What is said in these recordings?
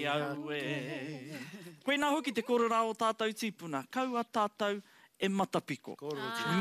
Aue. Koinā hoki te kororā o tātou tīpuna, kaua tātou e matapiko.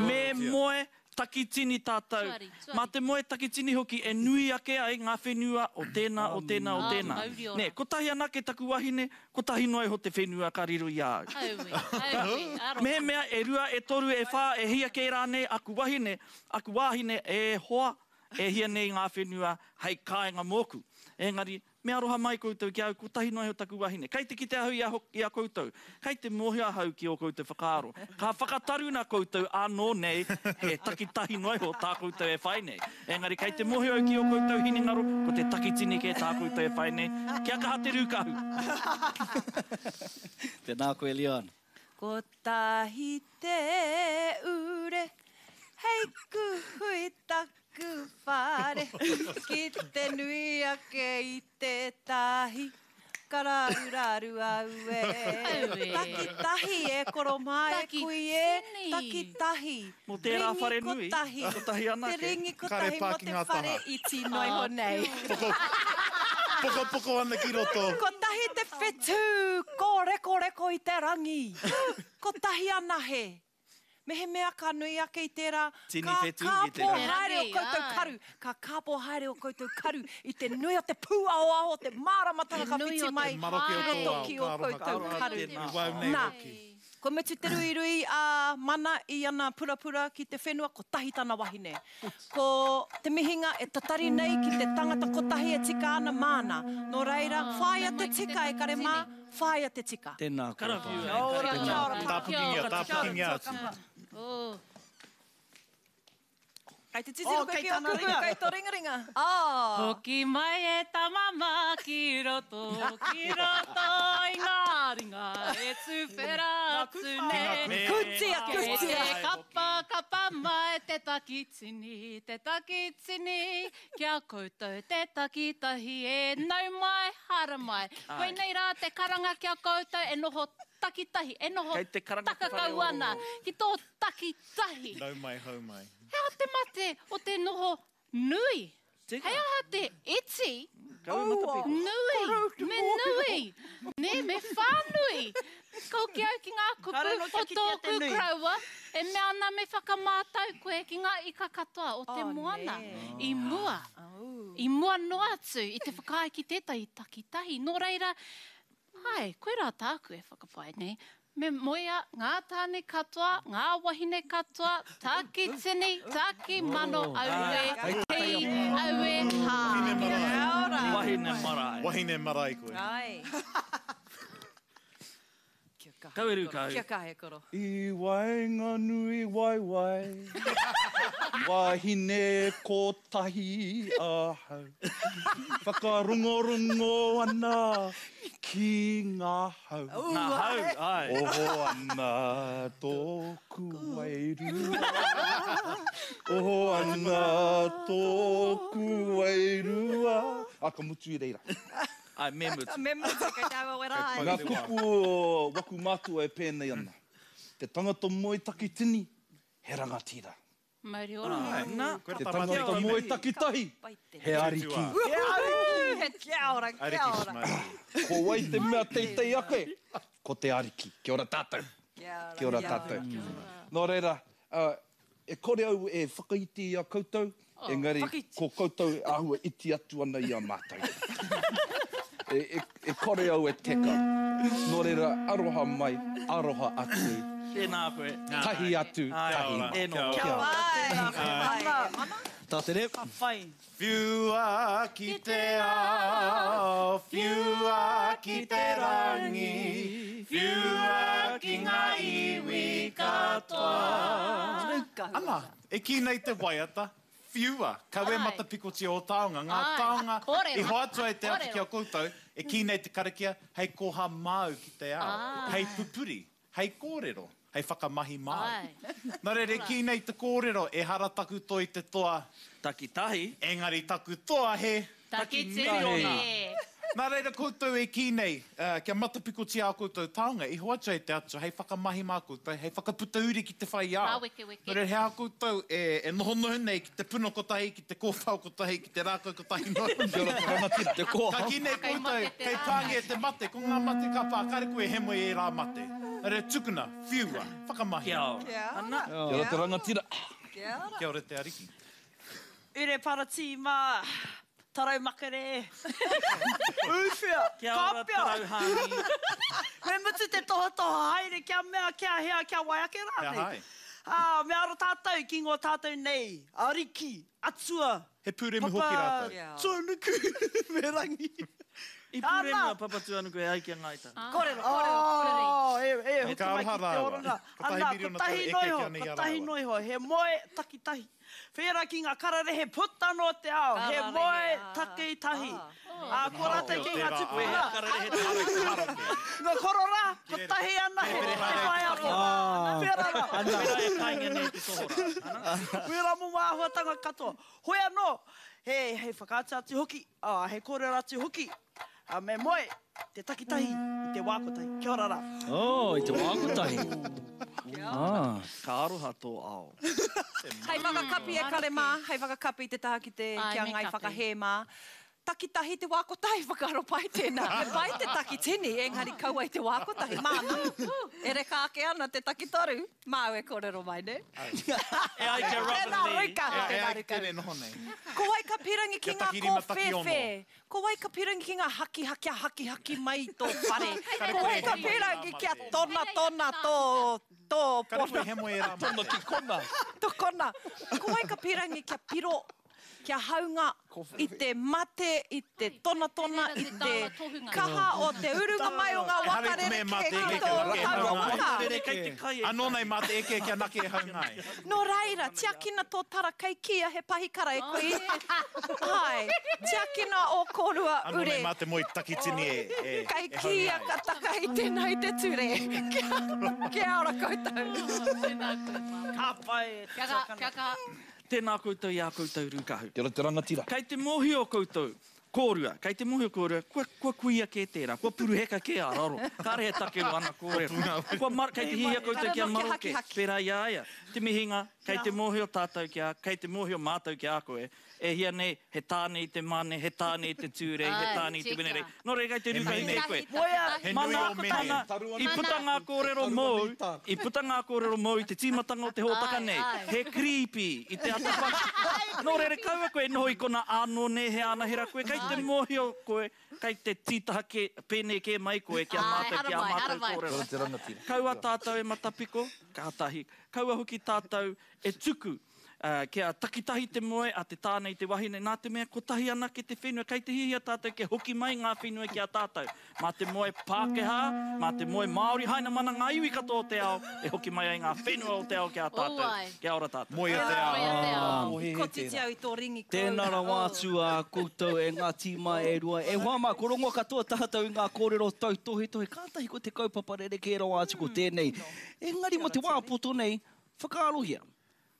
Me moe takitini tātou. Mā te moe takitini hoki e nui ake ai ngā whenua o tēnā, o tēnā, o tēnā. Nē, kotahi anake taku wahine, kotahi noa iho te whenua ka riro i a au. Mehemea e rua, e toru, e whā, e hia kē rānei aku wahine, aku wāhine, e hoa, e hia nei ngā whenua hei kāinga mōku. Engari, Me aroha mai koutou ki a au, kotahi noa iho taku wahine. Kei te kite ahau i a, i a koutou. Kei te mōhio ahau ki ō koutou whakaaro. Ka whakataruna koutou ānō nei he takitahi noa iho tā koutou e whai nei. Engari kei te mōhio au ki ō koutou hinengaro, ko te takitini kē tā koutou e whai nei. Kia kaha te rūkahu! Tēnā koe Leon. Kotahi te ure hei kuhu i taku whare Ki te nui ake i te tahi Ka raruraru au e Takitahi e koro mā e kui e Takitahi Mō tērā whare nui, kotahi anake. Te ringi kotahi mō te whare iti noa iho nei. Pokopoko ana ki roto. Kotahi te whetū kōrekoreko i te rangi. Kotahi anahe. Mehemea ka nui ake i tērā, ka kāpō haere ō koutou karu, ka kāpō haere ō koutou karu i te nui o te pūaoao o te māramatanga ka whiti mai ki roto ki ō koutou karu. Nā. Kua mutu te ruirui a Mana i ana purapura ki te whenua, kotahi tana wahine. Ko te mihinga e tatari nei ki te tangata kotahi e tika ana māna. Nō reira, whāia te tika e kare mā, whāia te tika. Tēnā koe pā. Kia ora, kia ora pā. Tāpukingia, tāpukingia atu. Kei te titiro koe ki o kupu, kei to ringaringa. Oh! Hoki mai e tama mā ki roto, ki roto i ngā ringa e tuwhera atu nei. Kutia, kutia! Kei te kapa, kapa mai te takitini, te takitini, ki a koutou te takitahi e nau mai, haramai. Koinei rā te karanga ki a koutou e noho takitahi, e noho takakau ana ki tō takitahi. Nau mai, hau mai. He aha te mate o te noho nui? He aha te iti? Nui, me nui, nē, me whānui. Ka hoki au ki ngā kupu o tōku koroua e mea ana me whakamātau koe ki ngā ika katoa o te moana i mua, i mua noa atu i te whakaae ki tētahi takitahi. Nō reira, āe, koirā tāku e whakapae nei, Me moea ngā tāne katoa, ngā wahine katoa, taki tini, taki mano, aue, hi, aue, hā. Wahine marae. Wahine marae. Wahine marae koe. Kaueru kau. Kia kaha e koro. I waenganui waewae, wahine kotahi ahau. Whakarongorongo ana ki ngā hau. Ngā hau, āe. Oho ana tōku wairua. Oho ana tōku wairua. Ā, ka mutu i reira. Āe, me mutu. Me mutu, kei te aua wera ai. Ngā kupu o waku mātua e pēnei ana. Te tangata moe takitini, he rangatira. Mauri ora. Na, Te tangata moe takitahi, he ariki. He ariki! Kia ora, kia ora. Ko wai te mea teitei ake? Ko te ariki. Kia ora tātou. Kia ora tātou. Nō reira, e kore au e whakaiti i a koutou, engari ko koutou e āhua iti atu ana i a mātou. E kore au e teka. Nō reira, aroha mai, aroha atu. Tēnā koe. Tahi atu, tahi mai. E noho. Kia ora. Tēnā koe. Mana. Mana. Tā te reo. Ka whai. Whiua ki te ao, whiua ki te rangi, whiua ki ngā iwi katoa. Ana, e kī nei te waiata, Whiua, kawe matapikotia ō taonga, ngā taonga i hoatu ai te Atua ki a koutou, e kī nei te karakia, hei koha māu ki te ao, hei pupuri, hei kōrero, hei whakamahi māu. Nā reira, e kī nei te kōrero, ehara taku toi te toa, Takitahi. engari taku toa he. Takitini. Nā reira koutou e kī nei, kia matapikotia ā koutou taonga, i hoatu ai te Atua hei whakamahi mā koutou, hei whakaputa uri ki te whai ao. Rāwekeweke. Nō reira, he aha koutou e nohonoho nei ki te puna kotahi, ki te kōwhao kotahi, ki te rākau kotahi noa iho? Kia ora te rangatira. Te koha. Ka kī nei koutou, kei pāngia te mate, ko ngā mate ka pā, kāre koe e hemo i ērā mate. Nō reira, tukuna, whiua, whakamahia. Kia ora. Ana. Kia ora te rangatira. Kia ora. Kia ora te Ariki. Ure paratīma, tarau makere, ūwhea, Kia ora kāpia. tarau hāngi. Me mutu te tohatoha haere kia mea, kia hea, kia wai ake Kia rānei. hae. Ā, me aro tātou ki ngō tātou nei ariki, atua, He pūremu hoki Papa rātou. Tuanuku me Rangi. I pūremu Ana. a Papatūānuku e ai ki a Ngāi Tahu. Kōrero, kōrero, kōrero. Oh, e, e, hoki Ka mai ki aroha te rāua. oranga. Kotahi Ana, miriona tau kotahi eke noa ki iho, ana i a kotahi rāua. noa iho, he moe takitahi. Whērā ki ngā kararehe puta noa te ao, he Kararehe, moe ā, takitahi. ā. Ā, ko rātou ki ngā tupuna. Kararehe te Ngā korora, kotahi anahe, te whaiaro. Whērā rā. Wērā e kainga nei te tohorā. Ana. Wērā momo āhuatanga katoa. Hoi anō, he, he whakaatu atu hoki, ā, he kōrero atu hoki, ā, me moe te takitahi i te wā kotahi. Kia ora rā. Oh, i te wā kotahi. Ah. Ka aroha tō ao. Hei whakakapi e kare mā, hei whakakapi i te taha ki te, Āe, ki a me Ngai kapi. Whakahē mā. Takitahi te wā kotahi, whakaaro pai tēnā. He pai te takitini, engari kaua i te wā kotahi. Māna, e reka ake ana te takitoru, māu e kōrero mai, nē? E ai ki a Robin Tēnā, Lee. Ruka, E tēnā, ai ki Ruka. tēnei noho nei. Ko wai ka pirangi ki Kia ngā takirima, takiono. kōwhēwhē? Ko wai ka pirangi ki ngā haki, kia hakihaki mai i tō whare? Kare Ko koe wai e ka hemo i ērā pirangi kia mate. tonatona tō, tō Kare koe pona? e hemo i ērā mate. Tona ki kona. Tō kona. Ko wai ka pirangi kia piro, kia haunga i te mate, i te tonatona, i te kaha o te urunga mai o ngā waka rerekē ki tō taua waka. Anō nei mā te eke kia nake e haunga ai. Nō reira, tiakina tō tara kei kīia he pahikara e koe. Āe, tiakina ō kōrua Anō ure. nei mā te moe takitini e haunga ai. Kei kīia ka takahi tēnā i te ture. Kia ora koutou. Tēnā koe, Māmā. Ka pai e te Kia kaha, tuakana. kia kaha. Tēnā koutou i ā koutou rūkahu. Kia ora te rangatira. Kei te mōhio koutou, kōrua, kei te mōhio kōrua, kua, kua kuia kē tērā, kua puruheka kē a raro. Kāre he take o ana kōrero. Kua mar, kei te hiahia koutou kia maroke, pērā i a ia. Te mihinga, kei te mōhio tātou ki a, kei te mōhio mātou ki a koe, e hia nei, he tāne i te mane, he tāne i te Tūrei, he tāne i te Wenerei. Nō reira, kei te rūkahu kē koe. Moea, Mana, mana, i puta ngā kōrero mōu, i puta ngā kōrero mōu i te tīmatanga o te hōtaka nei, he creepy i te ata whaka. Nō reira, kaua koe e noho i kona ānō nē he ānahera koe, kei te mōhio koe, kei te tītaha kē, pēnei kē mai koe ki a mātou, ki ā mātou kōrero. Kaua tātou e matapiko, kātahi. Kaua hoki tātou e tuku Kia takitahi te moe a te tāne i te wahine, nā te mea kotahi anake te whenua, kei te hiahia tātou kia hoki mai ngā whenua ki a tātou. Mā te moe Pākehā, mā te moe Māori, hainamana ngā iwi katoa o te ao, e hoki mai ai ngā whenua o te ao ki a tātou. Kia ora tātou. Moea te ao. I kotiti au i tō ringi Tēnā koroua. rawa atu a koutou e ngā tīma e rua. E hoa mā, ko rongo katoa tātou i ngā kōrero tautohetohe, kātahi ko te kaupapa rerekē rawa atu ko tēnei. Engari mō te wā poto nei, whakaarohia.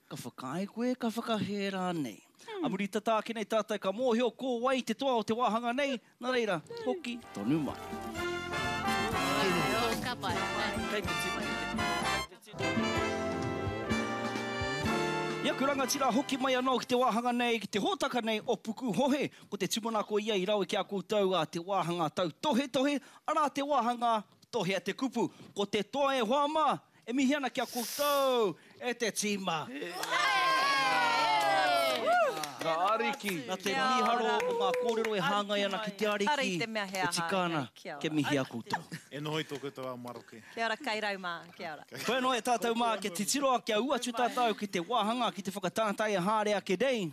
Ka whakaae koe, ka whakahē rānei. A muri tata ake nei tātou ka mōhio ko wai te toa o te wāhanga nei, nā reira, hoki tonu mai. Ka pai. Kei te tino, kei te tino. I aku rangatira hoki mai anō ki te wāhanga nei, ki te hōtaka nei o Pukuhohe. Ko te tūmanako ia i rawe ki a koutou a te wāhanga tautohetohe, arā te wāhanga tohea te kupu. Ko te toa e hoa mā, E mihi ana ki a koutou, e te tīma. Ngā ariki. Nā te mīharo o ngā kōrero e hāngai ana ki te ariki, e tika ana kia mihi a koutou. E noho i tō koutou ao maroke. Kia ora kairau mā, kia ora. Koe anō e tātou mā, kia titiro, kia ū atu tātou ki te wāhanga, ki te whakatātai e haere ake nei,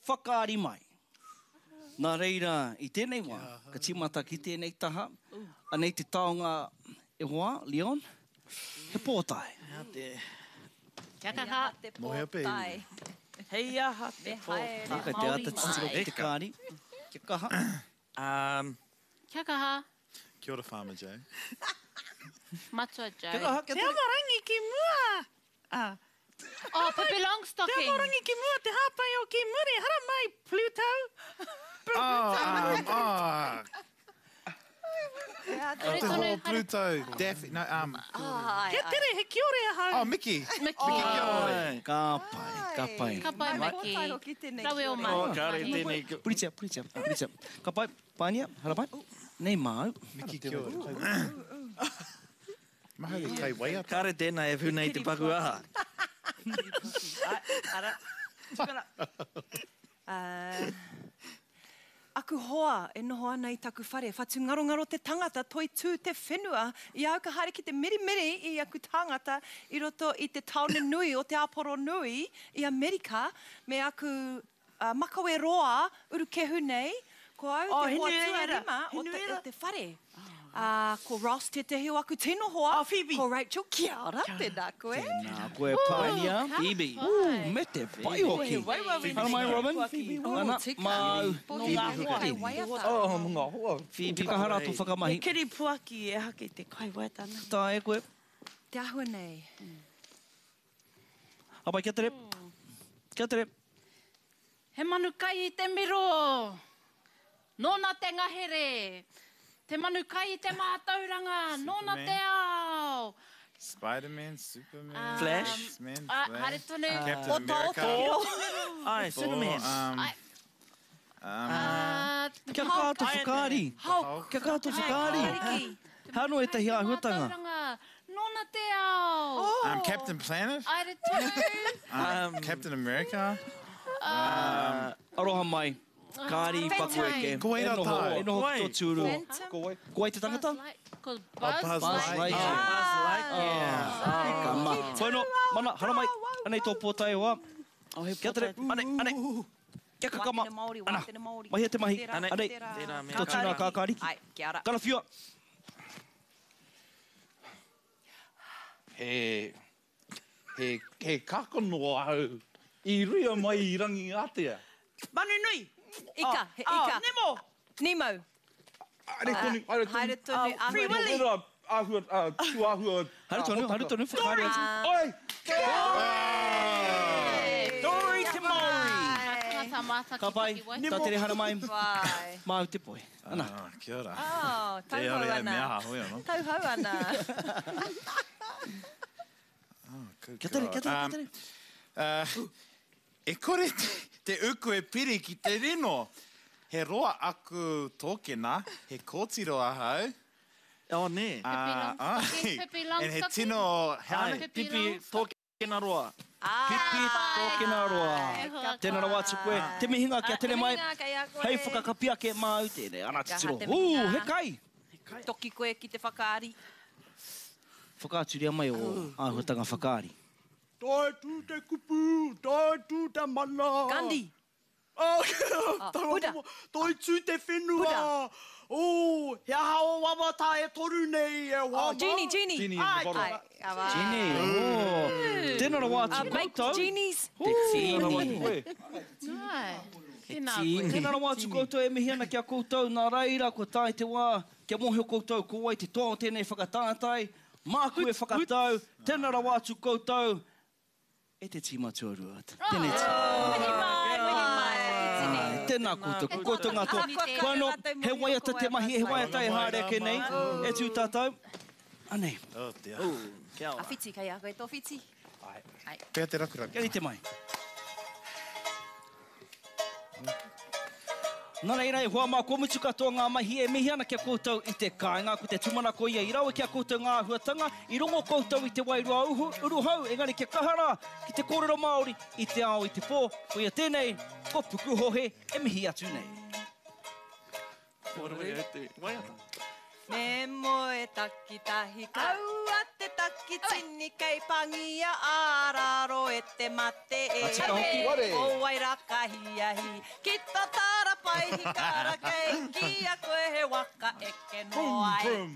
whakaari mai. Nā reira, i tēnei wā, ka tīmata ki tēnei taha, anei te taonga e hoa, Leon, he pōtae. Hei te... Kia kaha. Te Moea pē. pōtae. Hei aha te Me haere pōtae. Kei te āta titiro ki te kāri. Kia kaha. Um, Kia kaha. Kia ora Farmer Joe. Matua Joe. Kia kaha, kia Te amorangi ki mua! Ah. Oh, Pippi Longstocking. Te amorangi ki mua, te hāpai o ki muri, haramai, Pluto! Oh, um, oh. Te hoa Pluto, Daffy, no, um. Kia tere, he kiore ahau. Oh, Mickey. Mickey. Mickey kiore. Ka pai, ka pai. Ka pai, Mickey. Rawe o mahi. Oh, kāre tēnei. Puritia, puritia, puritia. Ka pai, Pānia, haramai. Nei māu. Mickey kiore. Mahau e kai waiata. Kāre tēnā e huna i te paku aha. Ara, tukuna. Aku hoa e noho ana i taku whare, whatungarongaro te tangata, toitū te whenua, i a au ka haere ki te mirimiri i aku tāngata i roto i te tāone nui o Te Āporo Nui i Amerika me aku makawe roa urukehu nei, ko au te hoa tuarima o te whare. Ā, ko Ross tētehi o aku tino hoa, ko Rachel, kia ora, tēnā koe. Tēnā koe, Pānia. Phoebe. Ooh, me te pai hoki. Haramai, Robin. Ana, māu. Nō ngā hoa. Oh, nō ngā hoa. Phoebe. Te kaha rā tō whakamahi. He kiri puaki e hake te kai waiata ana. Taea koe. Te āhua nei. Hapai, kia tere. Kia tere. He manu kai i te miro, nōna te ngahere, te manu kai i te mātauranga, nōna te ao. Spiderman, Superman, Flash. X-Men, Haere Flash, tonu. Captain America, Ai, Superman. Thor, Kia kaha tō whakaari. Hulk. Kia kaha tō whakaari. He anō ētahi āhuatanga. Mātauranga, nōna te ao. Captain Planet, Haere tonu. Captain America. Aroha mai. Kāri paku eke. Ko wai rā tāu? E noho ki tō tūru. Ko wai? Ko wai te tangata? Ko Buzz, Buzz Lightyear. Buzz Lightyear. Ka ma. Hoi no, mana, haramai. Anei tō pōtae hoa. Kia tere, anei, anei. Kia kakama. Ana, mahia te mahi. Anei, tō tūnā kākāriki. Karawhiua. He, he, he kākano ahau i ruia mai i Rangiātea. Manu nui! Ika, he ika. Oh, Nemo! Nemo. Haere tonu, haere tonu. Haere tonu, āhua. Free Willy! Tērā āhua, tūāhua. Haere tonu, haere tonu, whakahaere atu. Oi! Dory te Māori! Tangata Ka pai, mātaki tā tere haramai, Wai. māu te poi. Ana. Ah, kia ora. Oh, Te tauhou ora e ana. mea aha hoi anō. Tauhou ana. Good Kia tere, kia tere, kia Um, tere. E kore te uku e piri ki te rino. He roa aku tōkena, he kōtiro ahau. Oh, nē. Ai. Pipi And he Longstocking. tino, he Ai, ana? pipi tōkena roa. Pipi tōkena roa. Tēnā rawa atu koe. Te mihinga kia tere mai. Hei whakakapi ake māu tēnei. Ana titiro. Te Ū, mihinga. he kai! Toki koe ki te whakaari. Whakaaturia mai o āhuatanga whakaari. Toi tū te kupu, toi tū te mana. Gandhi. Oh, Buddha. Toi tū te whenua. Oh, he aha o wawata e toru nei e hoa Oh, Genie, Genie. Genie in the bottle. Ai, awa. Genie, oh. Tēnā rawa atu Make koutou. genies. Te tīni. Ai, tēnā koe. Tēnā rawa atu koutou e mihi ana ki a koutou. Nā reira, kua tae te wā, kia mōhio koutou ko wai te toa o tēnei whakatātai. Māku e whakatau. Tēnā rawa atu koutou. E te tīma tuarua. Tēnei tīma. Mihi mai, mihi mai. Takitini. Ai, tēnā koutou, ko koutou ngā toa. Ahakoa Koe anō, kāore he rātou waiata mōhio te ko mahi, he wai waiata e haere ake nei. E tū tātou. Anei, Oh dear. Kia ora. A whiti, kei a koe tō whiti. Pea te rakuraku. kia rite mai. Nā reira, e hoa mā, kua mutu katoa ngā mahi e mihi ana ki a koutou i te kāinga, ko te tūmanako ia i rawe ki a koutou ngā āhuatanga, i rongo koutou i te wairua uhu, uruhau, engari kia kaha rā ki te kōrero Māori i te ao i te pō, koia tēnei, ko Pukuhohe e mihi atu nei. Waiata. Me moe takitahi kaua te takitini kei pangia āraro e te mate e. Ka tika hoki. Ware. O wai rā ka hiahi ki tō tara paihikara kei kīia koe he waka eke noa ai.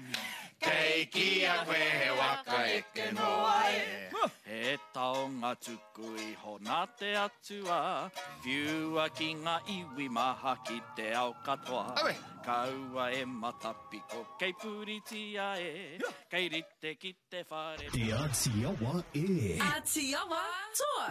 Kei kīia koe he waka eke noa ai. He taonga tuku iho nā te atua, whiua ki ngā iwi maha ki te ao katoa. Awe. Kaua e matapiko kei puritia e, kei rite ki te whare. Te Āti Awa e. Āti Awa toa.